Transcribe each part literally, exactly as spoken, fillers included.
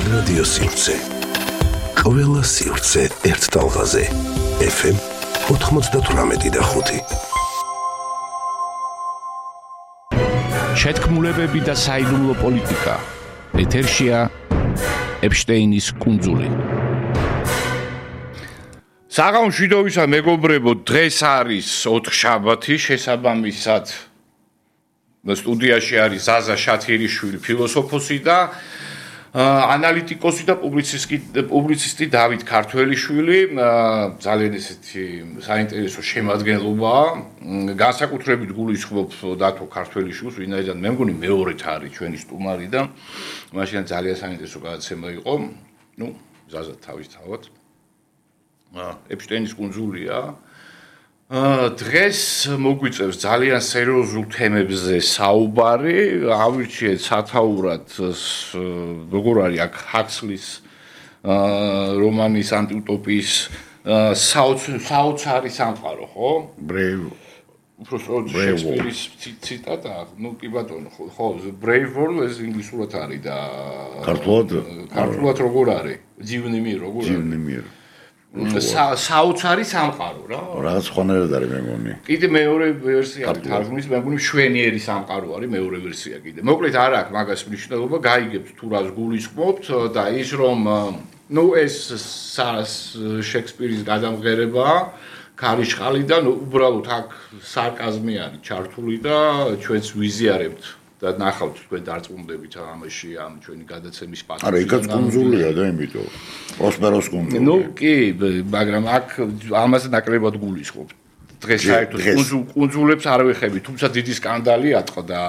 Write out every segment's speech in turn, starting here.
რადიო სივრცე. ყველა სივრცე ერთ ტალღაზე. ეფ ემ ოთხმოცდათვრამეტი და ხუთი. შეთქმულებები და საიდუმლო პოლიტიკა. ეთერშია ეპშტეინის კუნძული. საღამოშვიდობისა მეგობრებო, დღეს არის ოთხშაბათი, შესაბამისად სტუდიაში არის ზაზა შათიერიშვილი, ფილოსოფოსი და ანალიტიკოსი და პუბლიცისტი პუბლიცისტი დავით ქართველიშვილი, ძალიან ესეთი საინტერესო შემადგენლობაა. განსაკუთრებით გულისხმობ დათო ქართველიშვილს, ვინაიდან მე მგონი მეორედ არის ჩვენი სტუმარი და მაშინ ძალიან საინტერესო გადაცემა იყო. ნუ, ზაზა თავისთავად. ეპშტეინის კუნძულია. დღეს მოგვიწევს ძალიან სერიოზულ თემებზე საუბარი. ავირჩიეთ სათაურად როგორ არის აქ ჰაქსლის რომანის ანტიუტოპიის საოცარი სამყარო, ხო? Brave. უბრალოდ შექსპირის ციტატა, ნუ კი ბატონო, ხო, Brave World ეს ინგლისურად არის და ქართულად ქართულად როგორ არის? ძივნი მიერ როგორ არის? ძივნი მიერ. საოცარი სამყარო რა. რაღაც ხონერად არის მე მგონი. კიდე მეორე ვერსია არის თარგმნის, მე მგონი მშვენიერი სამყარო არის მეორე ვერსია კიდე. მოკლედ არ აქვს მაგას მნიშვნელობა, გაიგებთ თუ რას გულისხმობთ და ის რომ ნუ ეს შექსპირის გადამღერებაა, ქარიშხალი და უბრალოდ აქ სარკაზმი არის ჩართული და ჩვენც ვიზიარებთ და ნახავთ თქვენ დარწმუნდებით ამაში ამ ჩვენი გადაცემის პატივს. არა, იქაც კუნძულია და იმიტომ. პროსპეროს კუნძული. ნუ კი, მაგრამ აქ ამაზე ნაკლებად გულისხმობ. დღეს საერთოდ კუნძულებს არ ვეხები, თუმცა დიდი სკანდალი ატყდა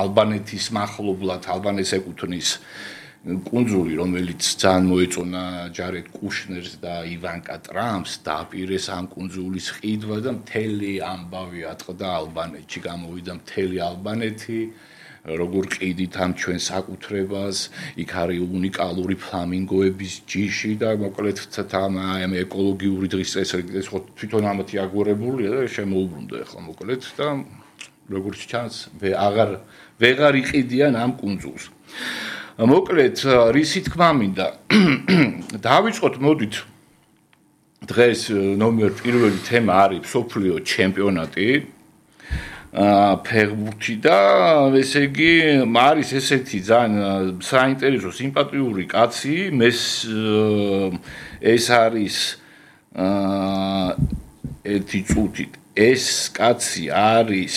ალბანეთის მახლობლად, ალბანეთს ეკუთვნის კუნძული, რომელიც ძალიან მოეწონა ჯარედ კუშნერს და ივანკა ტრამპს, დააპირეს ამ კუნძულის ყიდვა და მთელი ამბავი ატყდა ალბანეთში, გამოვიდა მთელი ალბანეთი, როგორ ყიდით ამ ჩვენ საკუთრებას, იქ არის უნიკალური ფლამინგოების ჯიში და მოკლედ ამ ეკოლოგიური დღის წესრიგი ხო თვითონ ამათი აგორებულია და შემოუბრუნდა ახლა მოკლედ და როგორც ჩანს, აღარ ვეღარ იყიდიან ამ კუნძულს. მოკლედ, რისი თქმა მინდა, დავიწყოთ, მოდით, დღეს ნომერ პირველი თემა არის მსოფლიო ჩემპიონატი ფეხბურთი და ესე იგი, არის ესეთი ძალიან საინტერესო სიმპათიური კაცი, მეს ეს არის ერთი წუთით, ეს კაცი არის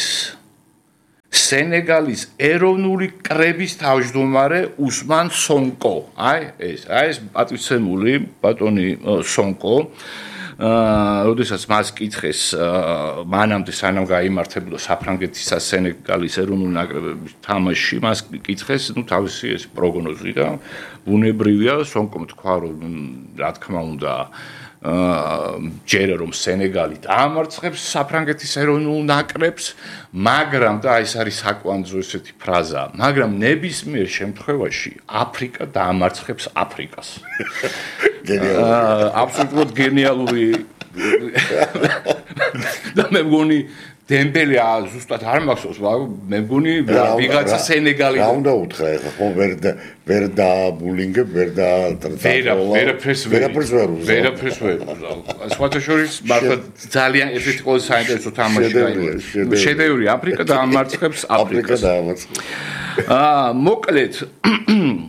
სენეგალის ეროვნული კრების თავმჯდომარე უსმან სონკო. აი ეს, აი ეს პატივცემული ბატონი სონკო. აა, როდესაც მას კითხეს, მანამდე სანამ გაიმართებოდა საფრანგეთის და სენეგალის ეროვნული ნაკრებების თამაში, მას კითხეს, ნუ თავისი ეს პროგნოზი და ბუნებრივია სონკომ თქვა, რომ რა თქმა უნდა აა ჯერა რომ სენეგალი დაამარცხებს საფრანგეთის ეროვნულ ნაკრებს, მაგრამ და ეს არის საკვანძო ესეთი ფრაზა, მაგრამ ნებისმიერ შემთხვევაში აფრიკა დაამარცხებს აფრიკას. გენიალური. აბსოლუტურად გენიალური. და მე მგონი დემბელი ზუსტად არ მახსოვს, მე მგონი ვიღაცა სენეგალი. რა უნდა უთხრა ეხლა, ხო ვერ ვერ დააბულინგებ, ვერ და ვერაფერს ვერაფერს ვერ უზავ. ვერაფერს ვერ უზავ. სხვათა შორის მართლა ძალიან ერთ-ერთი ყველაზე საინტერესო თამაში გაიგო. შედევრი აფრიკა დაამარცხებს აფრიკას. აფრიკა დაამარცხებს. აა, მოკლედ,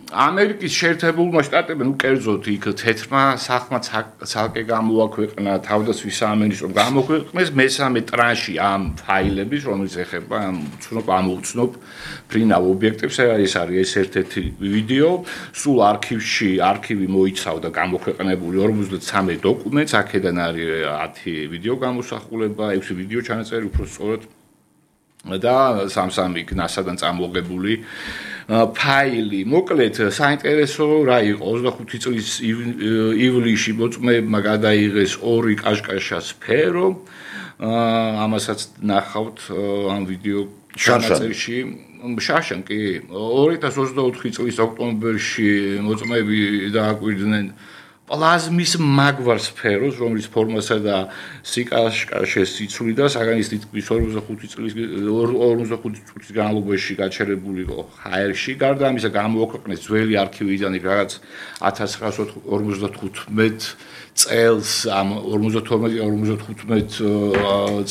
ამერიკის შეერთებულმა შტატებმა, ნუ კერძოდ იქ თეთრმა სახმა ცალკე გამოაქვეყნა თავდაცვის სამინისტრო გამოქვეყნეს მესამე ტრანში ამ ფაილების, რომელიც ეხება ამ უცნობ ამ უცნობ ფრინავ ობიექტებს, ეს არის ეს ერთ-ერთი ვიდეო, სულ არქივში, არქივი მოიცავდა გამოქვეყნებული ორმოცდამეტ დოკუმენტს, აქედან არის ათი ვიდეო გამოსახულება, ექვსი ვიდეო ჩანაწერი, უფრო სწორად და სამ-სამი ნასადან წამოღებული ფაილი. მოკლედ, საინტერესო რა იყო, ოცდახუთი წლის ივლისში მოწმეებმა გადაიღეს ორი კაშკაშა სფერო. ამასაც ნახავთ ამ ვიდეო ჩანაწერში. შაშან კი ორი ათას ოცდაოთხი წლის ოქტომბერში მოწმეები დააკვირდნენ პლაზმის მაგვარ სფეროს, რომელიც ფორმასა და სიკაშკაშეს იცვლიდა, საგანის თითქმის ორმოცდახუთი წლის ორმოცდახუთი წლის განმავლობაში გაჩერებული იყო ჰაერში. გარდა ამისა, გამოაქვეყნეს ძველი არქივიდან რაღაც ათას ცხრაასი ორმოცდათხუთმეტ წელს ამ ორმოცდათორმეტი ორმოცდათხუთმეტ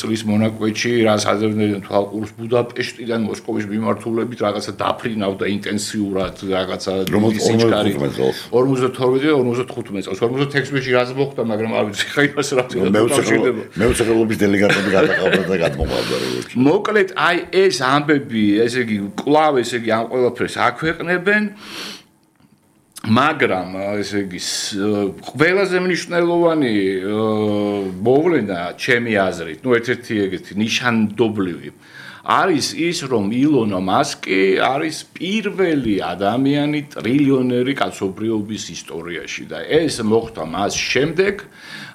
წლის მონაკვეთში, რაც აზერბაიჯანის თვალყურს ბუდაპეშტიდან მოსკოვის მიმართულებით რაღაცა დაფრინავდა ინტენსიურად რაღაცა სიჩქარე ორმოცდათორმეტი ორმოცდათხუთმეტ წელს ორმოცდათექვსმეტში რაც მოხდა, მაგრამ არ ვიცი ხა იმას რა თქმა უნდა მეუცეყლობის დელეგატები გადაყავდა და გადმოყავდა როგორც. მოკლედ, აი ეს ამბები, ესე იგი, კვლავ ესე იგი ამ ყველაფერს აქვეყნებენ. მაგრამ ესე იგი ყველაზე მნიშვნელოვანი მოვლენა ჩემი აზრით, ну ერთ-ერთი ეგეთი ნიშანდობლივი არის ის, რომ ილონ მასკი არის პირველი ადამიანი ტრილიონერი კაცობრიობის ისტორიაში და ეს მოხდა მას შემდეგ,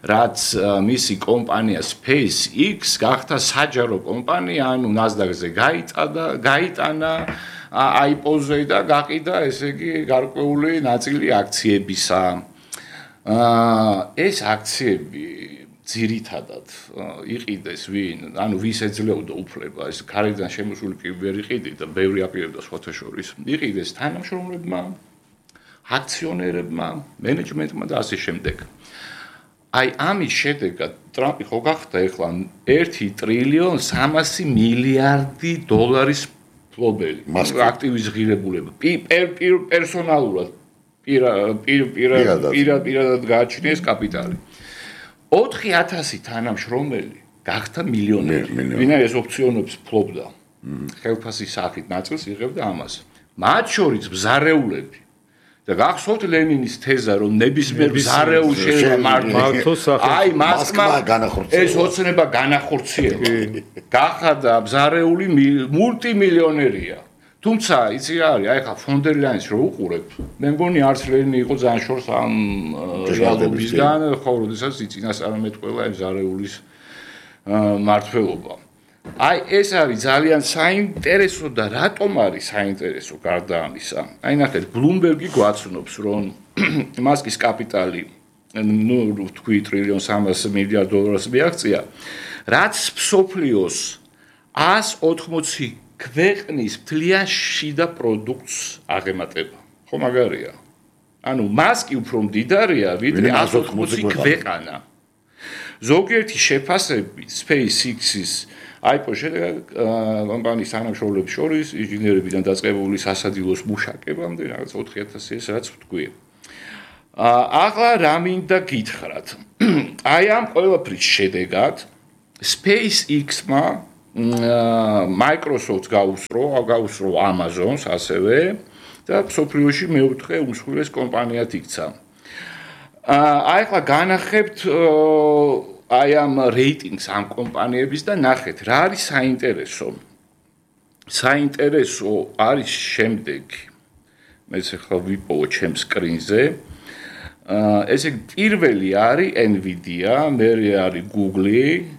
რაც მისი კომპანია SpaceX გახდა საჯარო კომპანია, ანუ NASDAQ-ზე გაიწადა, გაიტანა აიპოზე და გაყიდა ესე იგი გარკვეული ნაწილი აქციებისა. ეს აქციები ძირითადად იყიდეს ვინ, ანუ ვის ეძლეოდა უფლება, ეს გარედან შემოსული კი ვერ იყიდით და ბევრი აპირებდა სხვათა შორის. იყიდეს თანამშრომლებმა, აქციონერებმა, მენეჯმენტმა და ასე შემდეგ. აი ამის შედეგად ტრამპი ხო გახდა ეხლა ერთი ტრილიონ სამასი მილიარდი დოლარის ფლობელი, აქტივის ღირებულება, პერსონალურად პირადად გააჩნიეს კაპიტალი. ოთხი ათასი თანამშრომელი გახდა მილიონერი, ვინაიდან ოფციონებს ფლობდა. ხელფასის სახით ნაწილს იღებდა ამას. მათ შორის ბზარეულები და გახსოვთ ლენინის თეზა, რომ ნებისმიერ ბზარეულ შეიძლება მართოს, აი მასკმა ეს ოცნება განახორციელა. გახდა ბზარეული მულტიმილიონერია. თუმცა იცი რა არის, აი ხა ფონდერლაინს რო უყურებ, მე მგონი არც ლენინი იყო ძალიან შორს ამ რეალობისგან, ხო, როდესაც იწინასწარმეტყველა ეს ბზარეულის მართლობა. აი ეს არის ძალიან საინტერესო და რატომ არის საინტერესო გარდა ამისა? აი ნახეთ, Bloomberg-ი გვაცნობს, რომ მასკის კაპიტალი, ну, თქვი ტრილიონ სამას მილიარდ დოლარს მიაღწია, რაც მსოფლიოს ას ოთხმოცი ქვეყნის მთლიან შიდა პროდუქტს აღემატება. ხო მაგარია? ანუ მასკი უფრო მდიდარია, ვიდრე ას ოთხმოცი ქვეყანა. ზოგიერთი შეფასებით SpaceX-ის აიპო შედეგად კომპანიის თანამშრომლებს შორის ინჟინერებიდან დაწყებული სასადილოს მუშაკებამდე რაღაც ოთხი ათასი ეს რაც ვთქვი. ახლა რა მინდა გითხრათ? აი ამ ყველაფრის შედეგად SpaceX-მა Microsoft გაუსწრო, გაუსწრო Amazon-ს ასევე და მსოფლიოში მეოთხე უმსხვილეს კომპანიად იქცა. აი ახლა განახებთ აი ამ რეიტინგს ამ კომპანიების და ნახეთ, რა არის საინტერესო. საინტერესო არის შემდეგი. მეც ახლა ვიპოვო ჩემ სკრინზე. ესე პირველი არის Nvidia, მერე არის Google,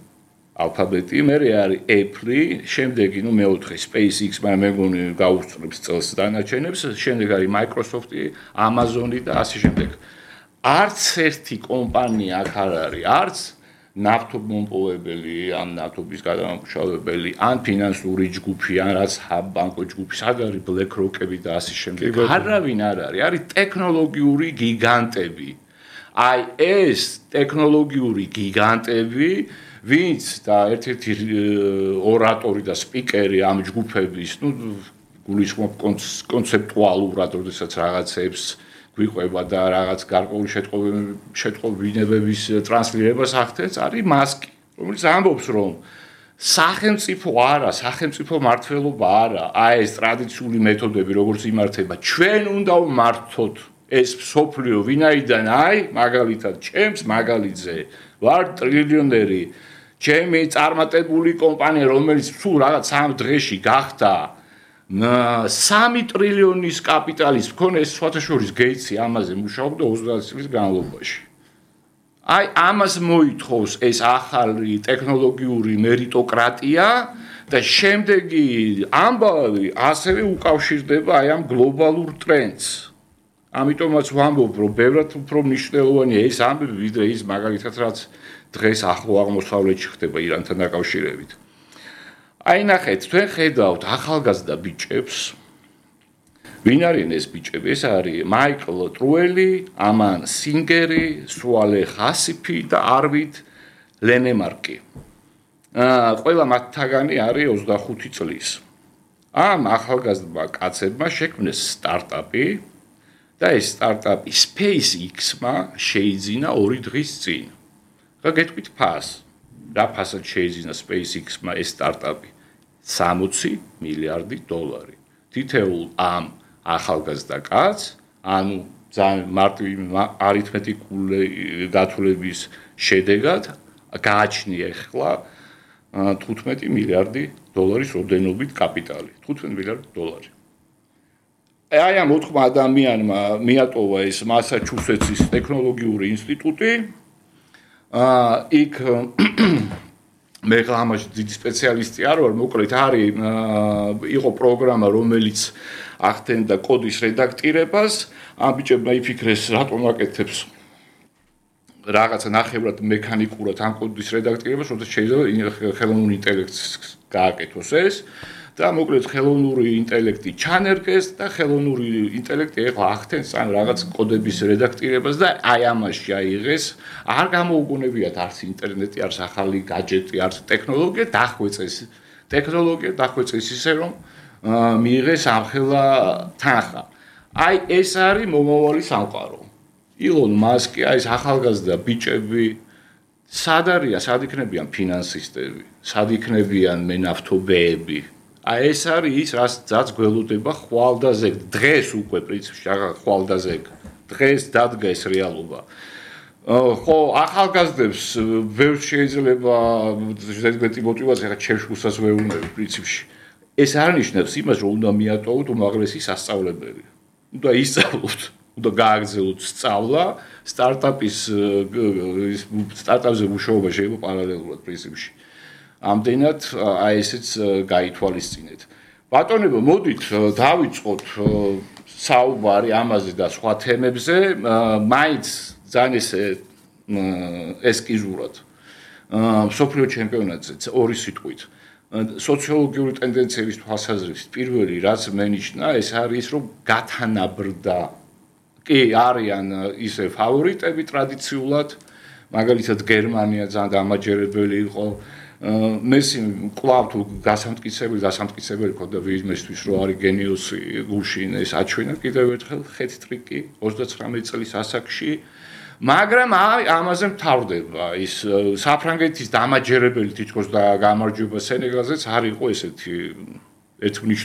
Alphabet, მერე არის Apple, შემდეგი ნუ მეოთხე SpaceX, მაგრამ მე მგონი გაუსწრებს წელს დანარჩენებს, შემდეგ არის Microsoft, Amazon და ასე შემდეგ. არც ერთი კომპანია აქ არ არის, არც ნავთობმომპოვებელი, ან ნავთობის გადამამუშავებელი, ან ფინანსური ჯგუფი, ან რაც ბანკო ჯგუფი, სად არის BlackRock-ები და ასე შემდეგ. არავინ არ არის, არის ტექნოლოგიური გიგანტები. აი ეს ტექნოლოგიური გიგანტები, ვინც და ერთ-ერთი ორატორი და სპიკერი ამ ჯგუფების, ну, გულისხმობ კონცეპტუალურად, როდესაც რაღაცებს გვიყვება და რაღაც გარკვეული შეტყობინებების ტრანსლირებას ახდენს, არის მასკი, რომელიც ამბობს, რომ სახელმწიფო არა, სახელმწიფო მართლობა არა, აი ეს ტრადიციული მეთოდები, როგორც იმართება, ჩვენ უნდა ვმართოთ ეს მსოფლიო, ვინაიდან აი, მაგალითად, ჩემს მაგალითზე ვარ ტრილიონერი, ჩემი წარმატებული კომპანია, რომელიც თუ რაღაც სამ დღეში გახდა სამი ტრილიონის კაპიტალის მქონე, ეს სხვათა შორის გეიცი ამაზე მუშაობდა ოცდაათი წლის განმავლობაში. აი ამას მოითხოვს ეს ახალი ტექნოლოგიური მერიტოკრატია და შემდეგი ამბავი ასევე უკავშირდება აი ამ გლობალურ ტრენდს. ამიტომაც ვამბობ, რომ ბევრად უფრო მნიშვნელოვანია ეს ამბები, ვიდრე ის მაგალითად რაც დღეს ახლო აღმოსავლეთში ხდება ირანთან დაკავშირებით. აი ნახეთ, თქვენ ხედავთ ახალგაზრდა ბიჭებს. ვინ არიან ეს ბიჭები? ეს არის მაიკლ ტრუელი, ამან სინგერი, სუალე ხასიფი და არვიდ ლენემარკი. აა ყველა მათთაგანი არის ოცდახუთი წლის. ამ ახალგაზრდა კაცებმა შექმნეს სტარტაპი და ეს სტარტაპი SpaceX-მა შეიძინა ორი დღის წინ. რა გეტყვით ფას? რა ფასად შეიძინა SpaceX-მა ეს სტარტაპი? სამოცი მილიარდი დოლარი. თითოეულ ამ ახალგაზრდა კაცს, ანუ ძალიან მარტივი არითმეტიკული გათვლების შედეგად გააჩნია ახლა თხუთმეტი მილიარდი დოლარის ოდენობით კაპიტალი. თხუთმეტი მილიარდი დოლარი. აი ამ ოთხმა ადამიანმა მიატოვა ეს მასაჩუსეტსის ტექნოლოგიური ინსტიტუტი. აა იქ მე ამაში დიდი სპეციალისტი არ ვარ, მოკლედ არის იყო პროგრამა, რომელიც ახდენდა კოდის რედაქტირებას. ამ ბიჭებმა იფიქრეს, რატომ აკეთებს რაღაცა ნახევრად მექანიკურად ამ კოდის რედაქტირებას, როცა შეიძლება ხელოვნური ინტელექტს გააკეთოს ეს და მოკლედ ხელოვნური ინტელექტი ჩანერგეს და ხელოვნური ინტელექტი ეხლა ახდენს ამ რაღაც კოდების რედაქტირებას და აი ამაში აიღეს, არ გამოუგონებიათ არც ინტერნეტი, არც ახალი გაჯეტი, არც ტექნოლოგია, დახვეწეს ტექნოლოგია, დახვეწეს ისე რომ მიიღეს ამხელა თანხა. აი ეს არის მომავალი სამყარო. ილონ მასკი, აი ეს ახალგაზრდა ბიჭები, სად არიან, სად იქნებიან ფინანსისტები, სად იქნებიან მენავთობეები. აი ეს არის ის, რაც გველოდება ხვალდაზე, დღეს უკვე პრინციპში ხვალდაზე, დღეს დადგა ეს რეალობა. ხო, ახალგაზრდებს ვერ შეიძლება ზედმეტი мотиваცია ხა ჩემშულსაც ვეუბნები პრინციპში. ეს არ ნიშნავს იმას, რომ უნდა მიატოვოთ უმაღლესი სასწავლებელი. უნდა ისწავლოთ, უნდა გააგრძელოთ სწავლა, სტარტაპის სტარტაპზე მუშაობა შეიძლება პარალელურად პრინციპში. ამდენად აი ესეც გაითვალისწინეთ. ბატონებო, მოდით დავიწყოთ საუბარი ამაზე და სხვა თემებზე, მაინც ძალიან ესე ესკიზურად. მსოფლიო ჩემპიონატზე ორი სიტყვით. სოციოლოგიური ტენდენციების თვალსაზრისით პირველი რაც მენიშნა, ეს არის რომ გათანაბრდა. კი, არიან ისე ფავორიტები ტრადიციულად, მაგალითად გერმანია ძალიან დამაჯერებელი იყო. მესი კვლავ თუ გასამტკიცებელი, გასამტკიცებელი ქონდა ვიზმისთვის, რომ არის გენიოსი გუშინ ეს აჩვენა კიდევ ერთხელ ხეთ-ტრიკი ოცდაცხრამეტი წლის ასაკში. მაგრამ ამაზე მთავრდება ის საფრანგეთის დამაჯერებელი თითქოს და გამარჯვება სენეგალზეც არ იყო ესეთი ერთმნიშნული